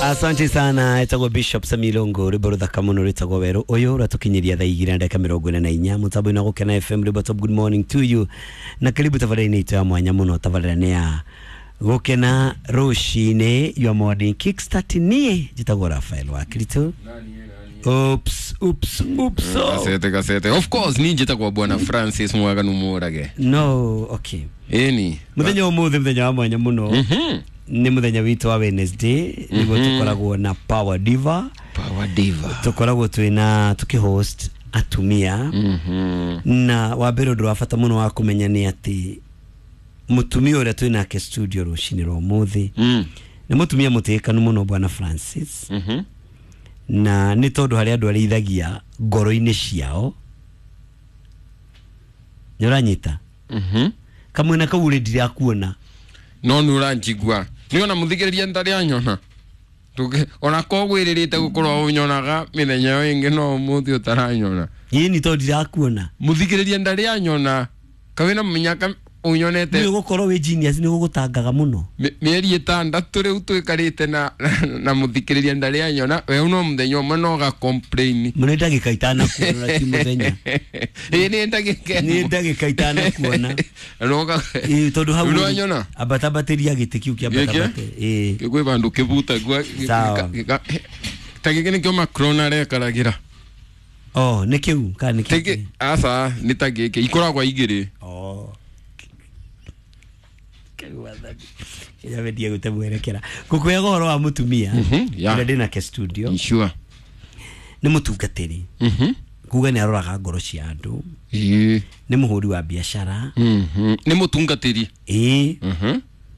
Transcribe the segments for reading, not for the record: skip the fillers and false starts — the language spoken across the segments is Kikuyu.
Asante sana, etagwo Bishop Samilongo rwimbo ruthaka muno rwitagwo Weru uyu ratukinyiria thaa igĩrĩ na ndagĩka mĩrongo ĩna na inya mutambo-inĩ wa Gũkena FM. Rwimbo top. Good morning to you na karibu tabarĩra-inĩ itũ ya mwanya mũno, tabarĩra nĩ ya Gũkena rũcinĩ, your morning kickstart. Niĩ njĩtagwo Rafael wa Kristo. Oops, oops, oops, oh. Gasete, gasete. Of course ni njĩtagwo Bwana Francis Mwaganu Mũrage. No, okay. Ĩni. Muthenya ũmũthĩ muthenya wa mwanya mũno, nĩ muthenya witũ wa Wednesday, nĩguo tũkoragwo na Power Diva. Power Diva. Tũkoragwo twĩna tũkĩhost atumia. Na wa mbere, ũndũ wa bata mũno wa kũmenya nĩ atĩ mũtumia ũrĩa twĩ nake studio rũcinĩ rwa ũmũthĩ nĩ mũtumia mũtĩĩkanu mũno, Bwana Francis, na nĩ tondũ harĩ andũ arĩithagia ngoro-inĩ ciao. Nĩ ũranyita? Kamwena kau rĩ, ndirakuona. No nĩ ũranjigua, nĩ ona mũthikĩrĩria ndarĩ anyona. Ona ko gwĩrĩrĩte gũkorwo ũnyonaga mĩthenya ĩyo ĩngĩ, no ũmũthĩ ũtaranyona. Ĩni, tondũ ndirakuona. Mũthikĩrĩria ndarĩ anyona kawĩna mĩnyaka ũnyonete. Nĩ ũgũkorwo wĩ genius, nĩ gũgũtangaga mũno. Mĩeri 6 rĩu twĩkarĩte na mũthikĩrĩria ndarĩ anyona we no mũthenya ũmwe no ga complain. Nĩ ndagĩka itanakuona na ti mũthenya. Ĩ, nĩ ndagĩka. Nĩ ndagĩka itanakuona. Noga. Ĩ, tondũ hau Nĩwanyona? Ambatambatĩria gĩtĩ kĩu kĩambatabate, ĩ. Kwĩ vandũ kĩbuta. Sawa. Ta gĩkĩ nĩkĩo Macron arekaragĩra. Oh, nĩ kĩu kana nĩ Tĩkĩ kĩu? Aca, nĩ ta gĩkĩ ikoragwo igĩrĩ. Oh. Kau wathani. Kenya wendie gũte mwerekera ngũkwĩraga ũhoro wa mũtumia yeah. ũrĩa ndĩ nake studio. Sure. Nĩ mũtungatĩri, kuga nĩ aroraga ngoro cia andũ. Nĩ mũhũri wa biacara. Nĩ mũtungatĩri. Ĩĩ.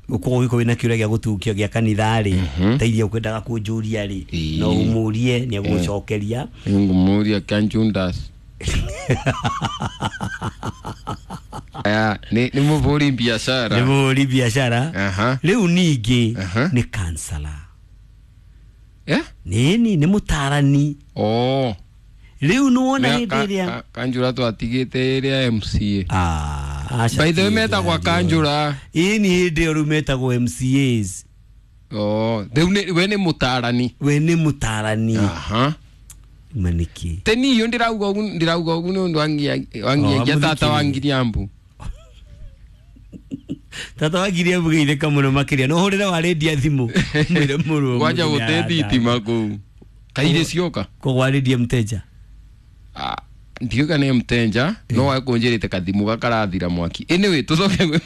Ũkorwo ũgĩkorwo wĩna kĩũria gĩa gũtungio gĩa kanitha rĩ, ta iria ũkwendaga kũnjũria rĩ, no ũmũrie, nĩ egũgũcokeria. Ngũmũria kanjundas. Aya, nĩ mũhũri biacara. Nĩ mũhũri biacara. Rĩu ningĩ nĩ kansala. Eh? Nĩni nĩ mũtarani. Oh. Rĩu nĩwona hĩndĩ ĩrĩa Kanjura twatigĩte ĩrĩa MCA. Ah, aca. By the way, ti metagwo hĩndĩ kanjura. Ĩĩ, nĩ hĩndĩ ĩyo rĩu metagwo MCAs. Oh, rĩu we nĩ mũtarani. We nĩ mũtarani. Manĩkĩ? Teni iyo ndĩrauga ũgu nĩ ũndũ wangiagia Oh, tata wa amũthikĩrĩria. Ngiriambu. Tata wa ngiria mũgeithĩka mũno makĩria, no hũrĩre wa rĩndia thimũ mwĩre mũrũ. Kwanja gũte thitima kũu kairĩ cioka. Kũgwarĩria mteja. Ah, ndiuga nĩ mtenja no wakũnjĩrĩte kathimu gakarathira mwaki. Anyway, tũcoke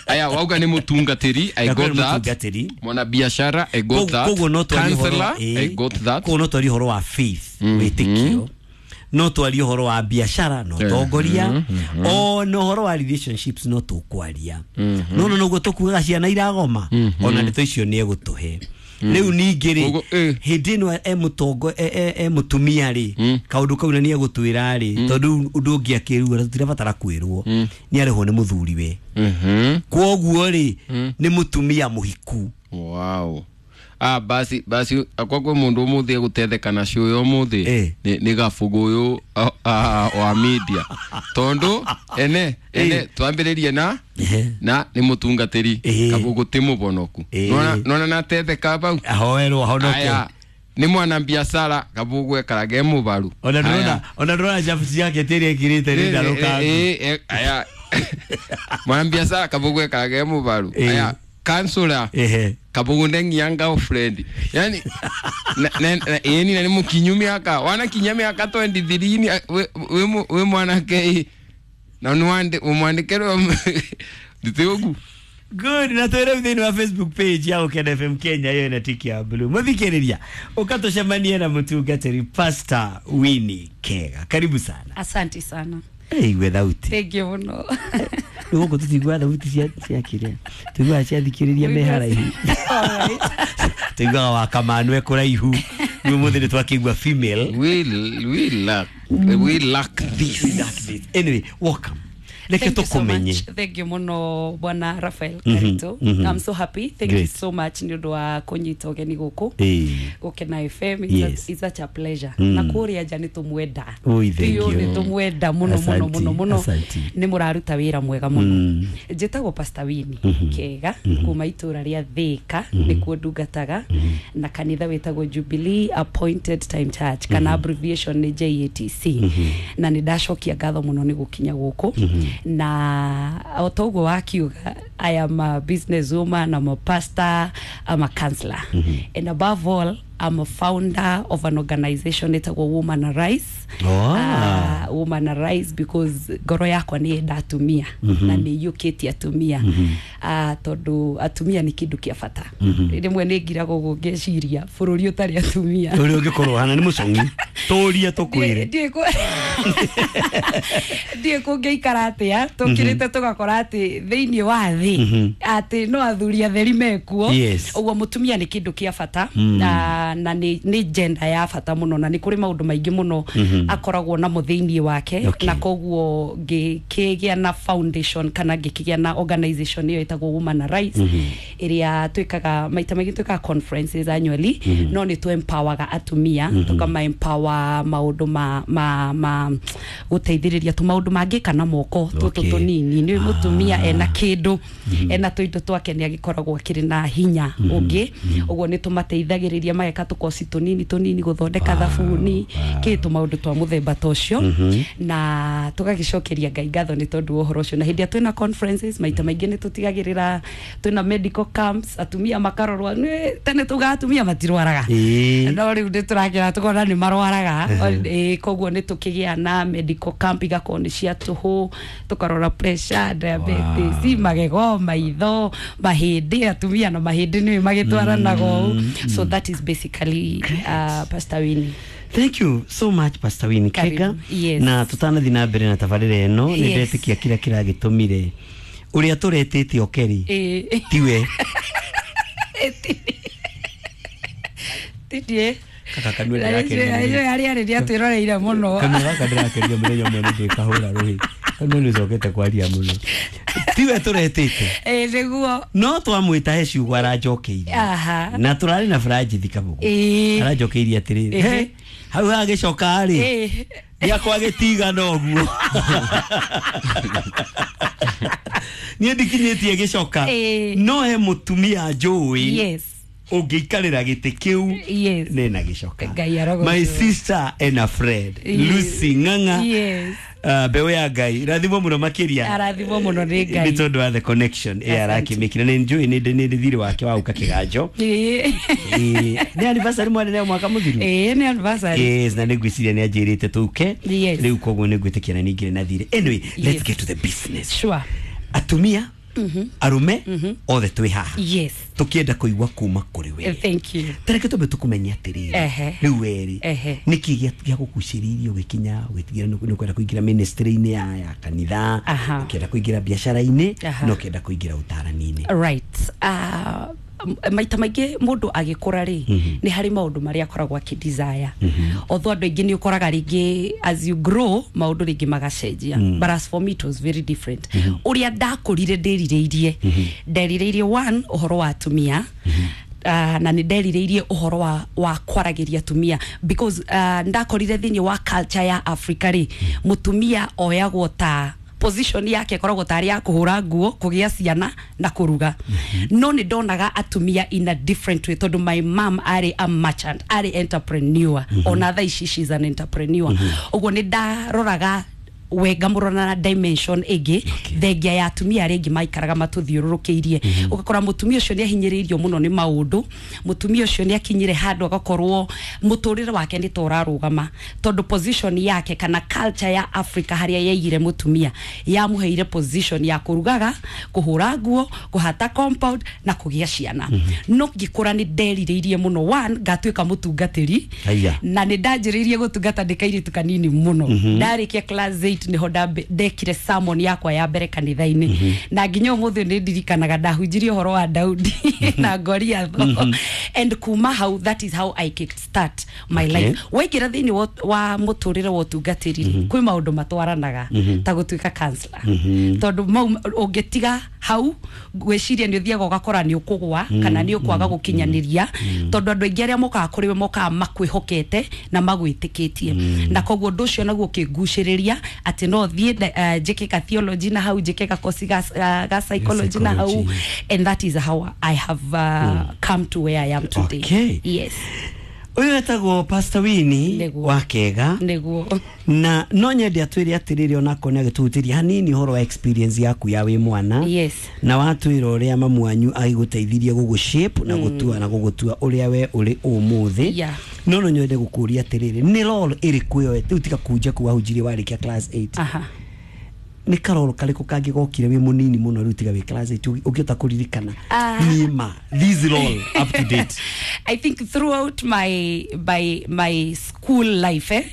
aya wauga nĩ mũtungatĩri, I Ndakwĩra got that. mũtungatĩri. Mwana biashara, I got that. Koguo no twarie ũhoro Counselor, I got that. Koguo no twarie ũhoro wa faith, wĩtĩkio, no twarie ũhoro wa biashara no tongoria, ona ũhoro wa relationships no tũkwaria. No noguo tũkuaga ciana iragoma, ona ndeto icio nĩ egũtũhe. Rĩu ningĩ rĩ, Koguo, eh. hĩndĩ ĩno e mũtongo e mũtumia rĩ, kaũndũ kau na nĩ egũtwĩra rĩ, tondũ ũndũ ũngĩ akĩrua tũtirabatara kwĩrwo, nĩ arĩhwo nĩ mũthuriwe. Kwoguo rĩ, nĩ mũtumia mũhiku. Wow. Ah, basi basi, akwa kwĩ mũndũ ũmũthĩ egũtetheka nacio ũyũ ũmũthĩ. Nĩ gabugu ũyũ, ah, ah, wa media, tondũ ene twambĩrĩrie na na nĩ mũtungatĩri. Kabugu ti mũbonoku. Nona natetheka bau. Ahoerwo ahonoke. Aya, nĩ mwana biacara, kabugu ekaraga e mũbaru. Ona Aya. ndĩrona, ona ndĩrona chapu yake tĩrĩa ĩkĩrĩte nĩ ndarũkangu. Aya, mwana biacara kabugu ekaraga e mũbaru. Aya, kansula, kabugu ndengia girlfriend, yani ĩni na nĩ mũkinyu mĩaka, wanakinya mĩaka 23 ni wĩ mwanake na nĩ ũmwandĩke ndĩtĩ ũgu. Good, na twĩre thĩinĩ wa Facebook page ya Gũkena FM Kenya, ĩyo ĩna tiki ya blue. Mũthikĩrĩria, ũkatũcemanie na mũtungatĩri Pastor Winnie Kega. Karibu sana. Asante sana. Igue thauti. Thank you muno. Rĩu gũkũ tũtiguaga thauti cia kĩrĩa tũiguaga ciathikĩrĩria me haraihu. Alright. Tũiguaga wa kamanu e kũraihu. Rĩu ũmũthĩ nĩ twakĩigua female. We lack this. Anyway, welcome. Reke tũkũmenye. Thank you muno bwana Raphael Karito. I'm so happy. Thank Great. you so much nĩ ũndũ wa kũnyita ũgeni gũkũ Gũkena FM. Yes. It's such a pleasure. Na kũrĩa nja nĩ tũmwenda. Ui, thank Biũ you. nĩ tũmwenda mũno mũno Asanti, mũno mũno. asanti. Nĩ mũraruta wĩra mwega mũno. Njĩtagwo Pastor Winnie Kega kuma itũra rĩa Thĩka nĩkuo ndungataga na kanitha wĩtagwo Jubilee Appointed Time Church kana abbreviation nĩ JATC. Na nĩ ndacokia ngatho mũno nĩ gũkinya gũkũ na o ta ũguo wakiuga, I am a business woman, I'm a pastor, I'm a counselor. And above all, I'm a founder of an organization ĩtagwo Woman Arise. Oh. Woman Arise because ngoro yakwa nĩ yenda atumia na nĩ iyũkĩtie atumia, tondũ atumia nĩ kĩndũ kĩa bata. Rĩmwe nĩ ngiraga ũguo ngeciria bũrũri ũtarĩ atumia ũrĩa ũngĩkorwo hana nĩ mũcong'i tũrie tũkwĩre. Ndiĩ kũngĩikara atĩa tũkĩrĩte tũgakora atĩ thĩinĩ wa thĩ atĩ no athuri atheri mekuo. Ũguo mũtumia nĩ kĩndũ kĩa bata na nĩ gender ya bata mũno na nĩ kũrĩ maũndũ maingĩ mũno akoragwo namo thĩinĩ wake. Na koguo ngĩkĩgĩa na foundation kana ngĩkĩgĩa na organization ĩyo ĩtagwo Woman Arise, ĩrĩa twĩkaga maita maingĩ, twĩkaga conferences annually, no nĩ tũ-empowerga atumia, tũkama empower maũndũ ma gũteithĩrĩria tũmaũndũ mangĩka na moko tũtũ tũnini. Nĩ mũtumia ena kĩndũ, ena tũindo twake, nĩ agĩkoragwo akĩrĩ na hinya ũngĩ. Ũguo nĩ tũmateithagĩrĩria mageka tũkoci tũnini tũnini, gũthondeka thabuni, kĩ tũmaũndũ twa mũthemba ta ũcio. Na tũgagĩcokeria Ngai ngatho nĩ tondũ wa ũhoro ũcio. Na hĩndĩ ĩrĩa twĩna conferences, maita maingĩ nĩ tũtigagĩrĩra twĩna medical camps, atumia makarorwo. Nĩ tene tugaga atumia matirwaraga, no rĩu nĩ tũrakĩra tũkona nĩ marwaraga. Koguo nĩ tũkĩgĩa na medical camp, igakorwo nĩ cia tũhũ, tũkarora pressure, diabetes, magego, maitho, mahĩndĩ. Atumia na mahĩndĩ nĩ magĩtwaranaga ũũ. So that is basically Pastor Winnie. Thank you so much, Pastor Winnie Karibu. Kega. Yes. Na tutanathi na mbere na tabarĩra ĩno, nĩ ndetĩkia kĩrĩa kĩragĩtũmire ũrĩa tũretĩte okeri tiwe. Titie. Kaka kanua ndĩrakenio. Arĩa arĩ nĩ atwĩroreire mũno. Kanua gaka ndĩrakenio mũthenya ũmwe nĩ ndĩkahũra rũhĩ. Kanua nĩ ũcokete kwaria mũno. Tiwe tũretĩte, Nĩguo. no twamwĩta he ciugo aranjokeirie. Na tũrarĩ na Franjithi Kabugu. Aranjokeirie atĩrĩrĩ, "He, hau hagĩcoka rĩ, gĩakwa gĩtigana ũguo, niĩ ndikinyĩtie gĩcoka, no he mũtumia njũĩ ũngĩikarĩra gĩtĩ kĩu nena gĩcoka." Ngai arogocwo. My sister and a friend, Lucy Ng'ang'a. Mbeũ ya Ngai rathimwo mũno makĩria. Arathimwo mũno nĩ Ngai. Nĩ tondũ wa the connection ĩ Asante. arakĩmĩkire. Nĩ njũĩ nĩ thirĩ wake wa gũka kĩganjo. Nĩ anniversary mwarĩ nayo mwaka mũthiru. Ĩĩ, nĩ anniversary. Yes, na nĩ ngwĩciria nĩ anjĩrĩte tũke. Rĩu koguo nĩ ngwĩtĩkia na ningĩ na thirĩ. Anyway, let's get to the business. Sure. Atumia, arume, othe twĩ haha tũkĩenda kũigua kuma kũrĩ we. Thank you. Tareke twambe tũkũmenye atĩrĩrĩ, rĩu werĩ, nĩkĩ gĩagũgucĩrĩirie ũgĩkinya ũgĩtigĩra nĩ ũkwenda kũingĩra ministry-inĩ ya kanitha, ũkĩenda kũingĩra biacara-inĩ, na ũkĩenda kũingĩra ũtarani-inĩ? Right. Maita maingĩ mũndũ agĩkũra rĩ, nĩ harĩ maũndũ marĩa akoragwo akĩ-desire. Although andũ aingĩ nĩ ũkoraga rĩngĩ as you grow maũndũ rĩngĩ magacenjia, but as for me it was very different. Ũrĩa ndakũrire ndĩrirĩirie, nderirĩirie one, ũhoro wa atumia, na nĩ nderirĩirie ũhoro wa kwaragĩria atumia because ndakorire thĩinĩ wa culture ya Africa rĩ, mũtumia oyagwo ta position yake ĩkoragwo tarĩ ya kũhũra nguo, kũgĩa ciana na kũruga. No nĩ ndonaga atumia in a different way tondũ my mom arĩ a merchant, arĩ entrepreneur. Ona thaa ici she's an entrepreneur. Ũguo nĩ ndaroraga wenga mũrona na dimension ĩngĩ thengia ya atumia arĩa angĩ maikaraga matũthiũrũrũkĩirie. Ũgakora mũtumia ũcio nĩ ahinyĩrĩirio mũno nĩ maũndũ, mũtumia ũcio nĩ akinyire handũ agakorwo mũtũrĩre wake nĩ ta ũrarũgama tondũ position yake kana culture ya Africa harĩa yaigire mũtumia yamũheire position ya kũrugaga, kũhũra nguo, kũhata compound na kũgĩa ciana. No ngĩkũra nĩ nderirĩirie mũno one, ngatuĩka mũtungatĩri. Aya. Na nĩ ndanjĩrĩirie gũtungata ndĩ kairĩtu kanini mũno. Ndarĩkia class 8 8 niho ndekire sermon yakwa ya mbere kanitha-inĩ. Na nginya ũmũthĩ nĩ ndirikanaga ndahunjirie ũhoro wa Daudi na Goliath. And kuma hau, that is how I kick start my life. Waingĩra thĩinĩ wa mũtũrĩre wa ũtungatĩri, kwĩ maũndũ matwaranaga ta gũtuĩka counselor, tondũ mau ũngĩtiga hau gwĩciria nĩ ũthiaga ũgakora nĩ ũkũgwa kana nĩ ũkwaga gũkinyanĩria, tondũ andũ aingĩ arĩa mokaga kũrĩ we mokaga makwĩhokete na magwĩtĩkĩtie. Na koguo ũndũ ũcio naguo ũkĩngucĩrĩria atĩ no thiĩ njĩke ka theology na hau, njĩke ka course ga psychology na hau, and that is how I have come to where I am today. Okay. Yes. Ũyũ etagwo Pastor Winnie wa Kega. Nĩguo. Na no nyende atwĩre atĩrĩrĩ, onakorwo nĩ agĩtũhutĩria hanini ũhoro wa experience yaku ya wĩ mwana. Yes. Na watwĩra ũrĩa mamu wanyu agĩgũteithirie gũgũ shape na gũtua na gũgũtua ũrĩa we ũrĩ ũmũthĩ. Yeah. No nyende gũkũria atĩrĩrĩ, nĩ role ĩrĩkũ ĩyo rĩu tiga kunja kũu wahunjirie warĩkia class 8? Aha. Nĩ karoro karĩkũ kangĩ gokire wĩ mũnini mũno rĩu tiga wĩ class 8 ũngĩhota kũririkana? Nima this role up to date. I think throughout my school life,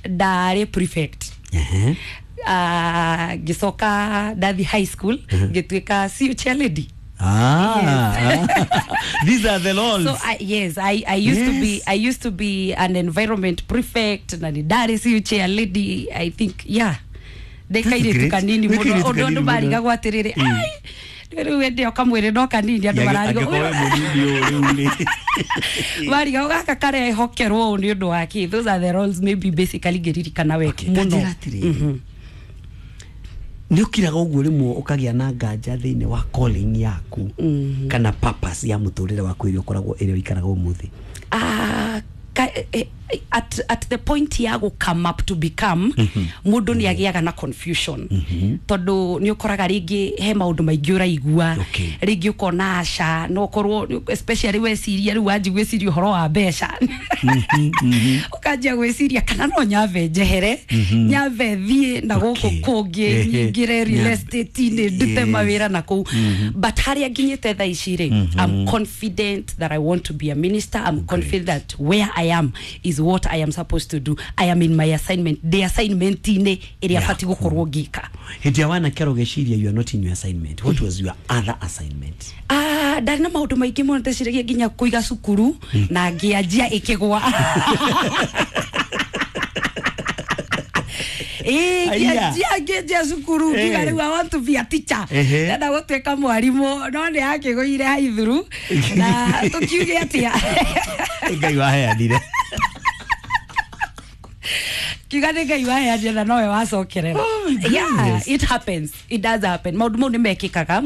ndarĩ prefect. Ngĩcoka ndathi high school, ngĩtuĩka CU chairlady. Ah, these are the roles. So I used to be, I used to be an environment prefect na ndarĩ CU chairlady, I think. Yeah. Ndekairĩtu kanini mũno, ũndũ andũ marigagwo atĩrĩrĩ, ai rĩu ende o kamwĩrĩ no kanini, andũ mararigwo marigagwo gaka karehokerwo ũũ nĩ ũndũ wa kĩ. Those are the roles maybe basically ngĩririkana wega mũno. Nĩ ũkiraga ũguo rĩmwe ũkagĩa na nganja thĩinĩ wa calling yaku kana purpose ya mũtũrĩre waku ĩrĩa ũkoragwo ĩrĩa ũikaraga ũmũthĩ? At the point ya go come up to become mũndũ nĩ agĩaga na confusion, tondũ nĩ ũkoraga rĩngĩ he maũndũ maingĩ ũraigua, rĩngĩ ũkona aca no ũkorwo especially weciria rĩu wanji gwĩciria ũhoro wa mbeca, ũkanjia gwĩciria kana no nyambe njehere, nyambe thiĩ na gũkũ kũngĩ, nyingĩre real estate-inĩ, ndute mawĩra na kũu. But harĩa nginyĩte thaa ici rĩ, I'm confident that I want to be a minister. I'm confident that where I am is what I am supposed to do. I am in my assignment. The assignment ine ĩrĩa batiĩ gũkorwo ngĩka. Hĩndĩ ya wanake ũgeciria you are not in your assignment. What was your other assignment? Ndarĩ na maũndũ maingĩ mũno ndeciragia nginya kũiga cukuru na ngĩanjia ĩkĩgwa. Ngĩanjia cukuru ngiuga rĩu I want to be a teacher. Ndenda gũtuĩka mwarimũ, no nĩ yakĩgũire haithuru na tũkiuge atĩa. Ngai waheanire. Kiuga nĩ Ngai waheanire na nowe wacokerera. Yeah, it happens. It does happen. Maũndũ mau nĩ mekĩkaga.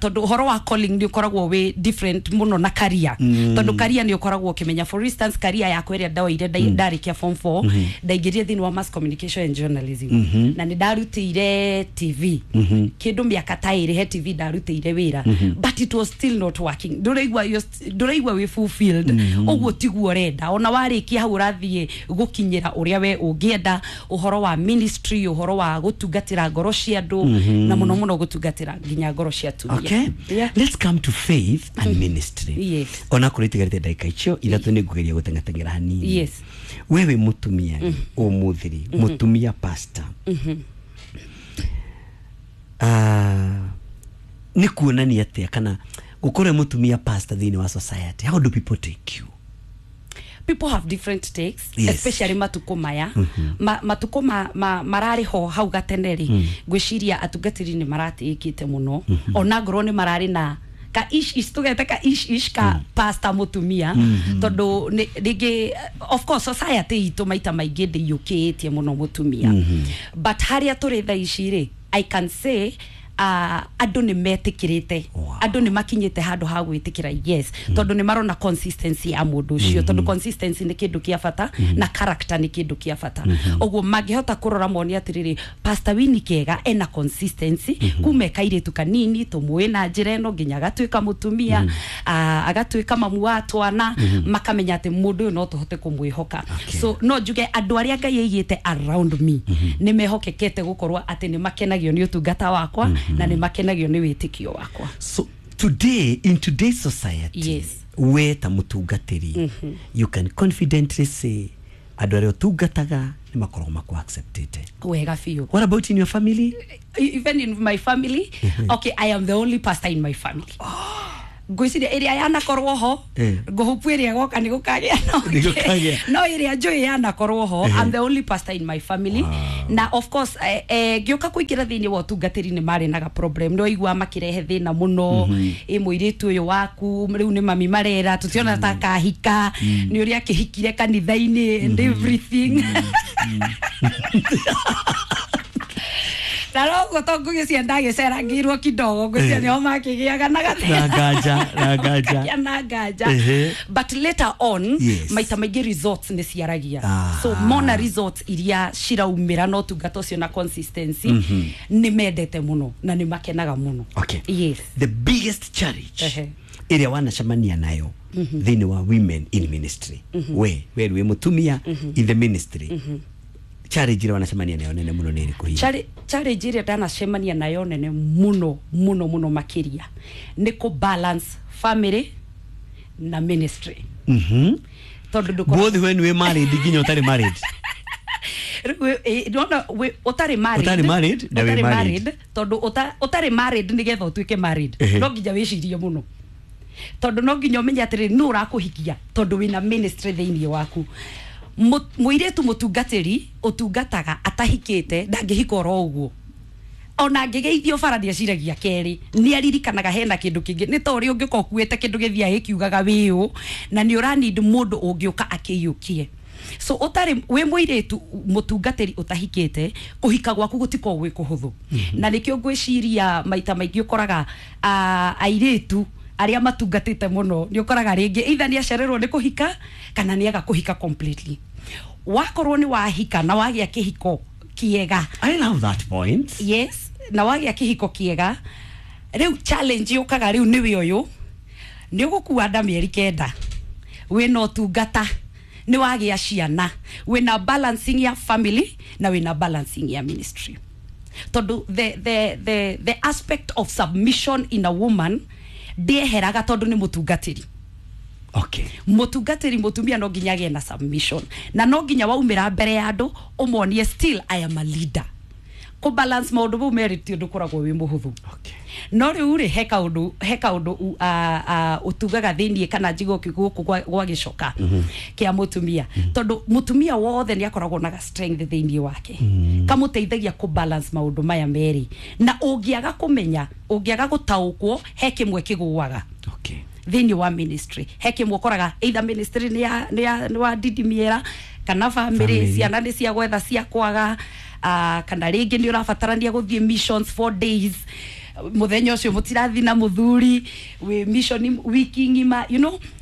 Tondũ ũhoro wa calling nĩ ũkoragwo wĩ different mũno na career. Tondũ career nĩ ũkoragwo ũkĩmenya, for instance, career yakwa ĩrĩa ndoire ndarĩkia form 4, ndaingĩrire thĩinĩ wa mass communication and journalism. Na nĩ ndarutĩire TV. Kĩndũ mĩaka ta ĩrĩ he TV ndarutĩire wĩra. But it was still not working. Ndũraigua wĩ fulfilled. Ũguo tiguo ũrenda. Ona warĩkia hau ũrathiĩ gũkinyĩra ũrĩa we ũngĩenda, ũhoro wa ministry, ũhoro wa gũtungatĩra ngoro cia andũ, na mũno mũno gũtungatĩra nginya ngoro cia atumia. Okay. Yeah. Let's come to faith and ministry. Yes. Ona kũrĩ tigarĩte ndagĩka icio ithatũ nĩ ngũgeria gũteng'ateng'era hanini. Yes. Wewe mũtumia ũmũthĩ rĩ, mũtumia pastor. Nĩ kuonania atĩa kana gũkorwo mũtumia pastor thĩinĩ wa society? How do people take you? People have different takes, Yes. especially matuko maya. Matuko mararĩ ho hau gatene rĩ, ngwĩciria atungatĩri nĩ maratĩĩkĩte mũno. Ona ngorwo nĩ mararĩ na ka ish ish, tũgete ka ish ish ka pastor mũtumia, tondũ rĩngĩ of course society itũ maita maingĩ ndĩiyũkĩtie mũno mũtumia. But harĩa tũrĩ thaa ici rĩ, I can say andũ nĩ metĩkĩrĩte. Andũ nĩ makinyĩte handũ ha gwĩtĩkĩra, yes, tondũ nĩ marona consistency ya mũndũ ũcio, tondũ consistency nĩ kĩndũ kĩa bata na character nĩ kĩndũ kĩa bata. Ũguo mangĩhota kũrora mone atĩrĩrĩ, Pastor Winnie Kega ena consistency kuma e kairĩtu kanini tũmũĩ na njĩra ĩno nginya agatuĩka mũtumia, agatuĩka mamu wa twana, makamenya atĩ mũndũ ũyũ no tũhote kũmwĩhoka. So no njuge andũ arĩa Ngai aigĩte around me nĩ mehokekete gũkorwo atĩ nĩ makenagio nĩ ũtungata wakwa na nĩ makenagio nĩ wĩtĩkio wakwa. So today, in today's society, Yes. we ta mũtungatĩri, you can confidently say Andũ arĩa ũtungataga nĩ makoragwo makũ acceptĩte. Wega biũ. What about in your family? Even in my family, okay, I am the only pastor in my family. Ngwĩciria ĩrĩa yanakorwo ho, ngũhupu ĩrĩa goka nĩ gũkagĩa no ĩrĩa njũĩ yanakorwo ho. I'm the only pastor in my family. Na of course ngĩũka kũingĩra thĩinĩ wa ũtungatĩri nĩ marĩ naga problem, no igua makĩrehe thĩna mũno. Ĩ mũirĩtu ũyũ waku rĩu nĩ mami marera tũtiona ta kahika, nĩ ũrĩa akĩhikire kanitha-inĩ and everything. Na rogo to ngũgĩcia ndagĩcerangĩirwo kidogo, ngwĩciria nĩho makĩgĩaga na na nganja. Na nganja. But later on, maita maingĩ results nĩ ciaragia. So mona results iria ciraumĩra na ũtungata ũcio na consistency, nĩ mendete mũno na nĩ makenaga mũno. Okay. Yes. The biggest challenge ĩrĩa wanacemania nayo thĩinĩ wa women in ministry, we wĩ mũtumia in the ministry, challenge ĩrĩa wanacemania nayo nene mũno nĩ ĩrĩkũ hihi? Challenge ĩrĩa ndanacemania nayo nene mũno mũno mũno makĩria nĩ kũ balance family na ministry. Tondũ ndũkoragwo Both when we married nginya ũtarĩ married. Rĩu, ndona ũtarĩ married. Ũtarĩ married na wĩ Ũtarĩ married. married, tondũ ũtarĩ married nĩgetha ũtuĩke married, no nginya wĩcirie mũno, tondũ no nginya ũmenye atĩrĩrĩ, nũ ũrakũhikia, tondũ wĩna ministry thĩinĩ waku. Mũirĩtu mũtungatĩri ũtungataga atahikĩte ndangĩhika oro ũguo. Ona angĩgeithio bara nĩeciragia kerĩ, nĩ aririkanaga hena kĩndũ kĩngĩ, nĩ ta ũrĩa ũngĩũka ũkuĩte kĩndũ gĩthiaga gĩkiugaga wĩũ, na nĩ ũranid mũndũ ũngĩũka akĩiyũkie. So ũtarĩ wĩ mũirĩtu mũtungatĩri ũtahikĩte, kũhika gwaku gũtikoragwo gwĩ kũhũthũ. Na nĩkĩo ngwĩciria maita maingĩ ũkoraga airĩtu arĩa matungatĩte mũno nĩ ũkoraga rĩngĩ either nĩ acererwo nĩ kũhika kana nĩ aga kũhika completely. Wakorwo nĩ wahika na wagĩa kĩhiko kĩega. I love that point. Yes, na wagĩa kĩhiko kĩega, rĩu challenge yũkaga rĩu nĩwe ũyũ nĩ ũgũkua nda mĩeri 9, wĩna ũtungata, nĩ wagĩa ciana, wĩna balancing ya family na wĩna balancing ya ministry, tondũ the aspect of submission in a woman ndĩeheraga tondũ nĩ mũtungatĩri. Mũtungatĩri mũtumia no nginya agĩe na submission, na no nginya waumĩra mbere ya andũ ũmonie still I am a leader. Kũ balance maũndũ mau merĩ ti ũndũ ũkoragwo wĩ mũhũthũ. No rĩu rĩ, he kaũndũ ũtugaga thĩiniĩ kana njigũ gũkũ gwa gĩcoka kĩa mũtumia, tondũ mũtumia wothe nĩ akoragwo na ga strength thĩiniĩ wake kamũteithagia kũ balance maũndũ maya merĩ, na ũngĩaga kũmenya, ũngĩaga gũtaũkwo, he kĩmwe kĩgũaga thĩinĩ wa ministry. He kĩmwe ũkoraga either ministry nĩ wa didimiera kana family, Family. Ciana nĩ cia gwetha cia kwaga, kana rĩngĩ nĩ ũrabatarania gũthiĩ missions 4 days, mũthenya ũcio mũtirathi na mũthuri wĩ mission wiki ng'ima.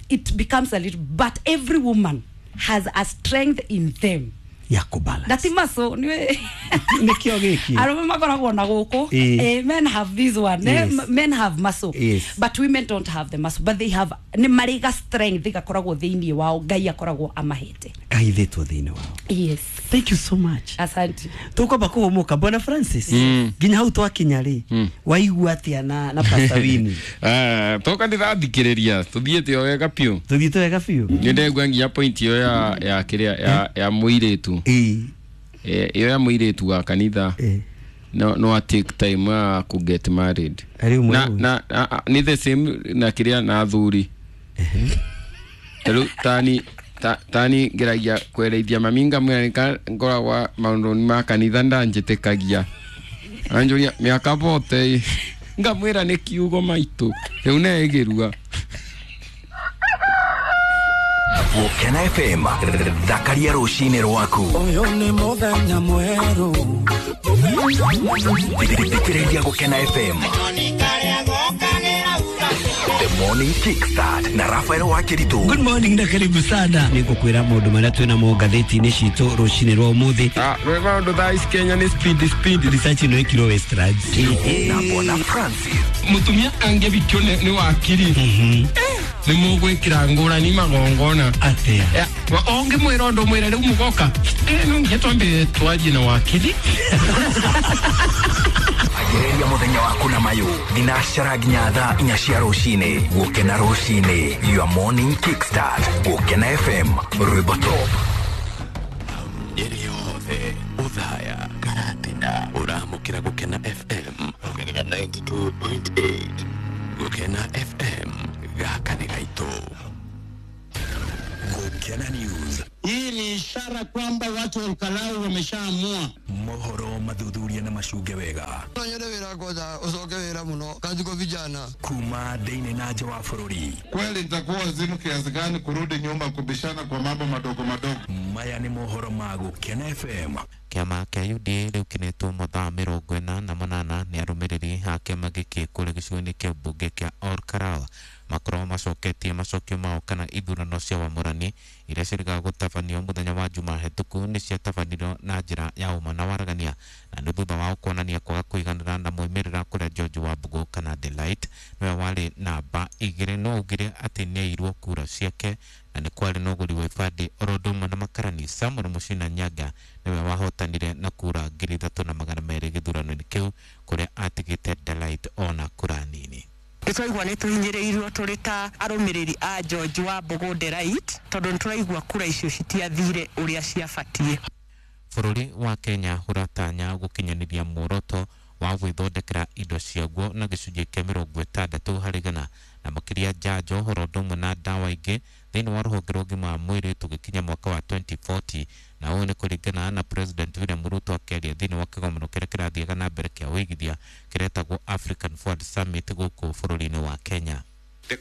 It becomes a little, but every woman has a strength in them ya kũbalance. Na ti maso nĩ Nĩkĩo gĩkĩ. Arũme makoragwo na gũkũ. Men have this one. Men have muscle, but women don't have the muscle, but they have, nĩ marĩ ga strength gakoragwo thĩinĩ wao, Ngai akoragwo amahete. Kahithĩtwo thĩinĩ wao. Yes. Thank you so much. Asante. Tukwamba kũhũmũka. Bwana Francis, nginya hau twakinya rĩ, waigua atĩa na Pastor Winnie? Eh, toka ndĩrathikĩrĩria tũthiĩte o wega biũ. Tũthiĩte wega biũ. Nĩ ndegua nginya point ĩyo ya kĩrĩa ya mũirĩtu. Ĩyo ya mũirĩtu wa kanitha, no take time ya ku get married. Arĩ ũmwe Na ũyũ. na nĩ the same na kĩrĩa na athuri. Tarĩu tani ngeragia kwereithia mami ngamwĩra nĩka ngoragwa maũndũ ma kanitha ndanjĩtĩkagia, anjũria mĩaka bote, ngamwĩra nĩ kiugo maitũ rĩu neĩgĩrua. Gũkena FM, thakaria rũcinĩ rwaku. Ũyũ nĩ mũthenya mwerũ. Thikĩrĩria Gũkena FM, The Morning Kickstart na Rafael Wakiritu. Good morning na karibu sana. Nĩ ngũkwĩra maũndũ marĩa twĩ namo ngathĩti-inĩ citũ rũcinĩ rwa ũmũthĩ. Ah, rwĩ maũndũ thaa ici Kenya nĩ speed speed. Research ĩno ĩkirwo Westlands. Na Bwana Francis. Mũtumia angĩbikio nĩ wakiri nĩ mũgwĩkĩra ngũrani magongona. Atĩa? Ya, ũngĩmwĩra ũndũ mwĩre rĩu mũgoka, no nginya twambe twarie na wakiri. Anjĩrĩria mũthenya waku na mayũ thinacara nginya thaa 4 cia rũcinĩ. Gũkena rũcinĩ, your morning kickstart. Gũkena FM, rwĩmbo top. Ĩrĩ yothe Othaya Karatina ũramũkĩra Gũkena FM ongerera 92.8 Gũkena FM gaka nĩ gaitũ. Gũkena News. Hii ni ishara kwamba watu wa Olkalau wameshaamua. Mohoro mathuthuria na macunge wega. No nyende wĩra kwanza ucoke wĩra mũno kazi kwa vijana. Kuma thĩinĩ na nja wa bũrũri. Kweli nitakuwa wazimu kiasi gani kurudi nyuma kubishana kwa mambo madogo madogo? Maya nĩ mohoro ma Gũkena FM. Kĩama kĩa UDA rĩu kĩnetwo mathaa 48 nĩ arũmĩrĩri a kĩama gĩkĩ kũrĩa gĩcigo-inĩ kĩa mbunge kĩa Olkalau makorwo macoketie macokio mao kana ithurano cia wamũrani iria ciĩrĩgaga gũtabanio mũthenya wa Juma hetũku nĩ ciatabanirio na njĩra ya ũma na waragania, na nĩ thutha wao kuonania kwaga kũiganĩra na moimĩrĩra kũrĩa George Wambugu kana Delight nĩwe warĩ namba 2 no augire atĩ nĩairwo kura ciake na nĩ kwarĩ na ũgũri wa ibandĩ oro ũndũ ũmwe na makarani Samuel Muchina Nyaga nĩwe wahotanire na kura 3200 gĩthurano-inĩ kĩu kũrĩa atigĩte Delight ona kura nini. Nĩtwaigua nĩ tũhinyĩrĩirio tũrĩ ta arũmĩrĩri a George Wambugu Delight tondũ nĩtũraigua kura icio citiathire ũrĩa ciabatiĩ. Bũrũri wa Kenya ũratanya gũkinyanĩria muoroto wa gwĩthondekera indo ciaguo na gĩcunjĩ kĩa 60 harĩ igana na makĩria njanjo ũhoro ũndũ ũmwe na ndawa ingĩ thĩinĩ wa rũhonge rwa ũgima wa mwĩrĩ tũgĩkinya mwaka wa 2040, na ũũ nĩ kũringana na President William Ruto akĩaria thĩinĩ wa kĩgomano kĩrĩa kĩrathiaga na mbere kĩa ũigithia kĩretagwo African Forward Summit gũkũ bũrũri-inĩ wa Kenya. The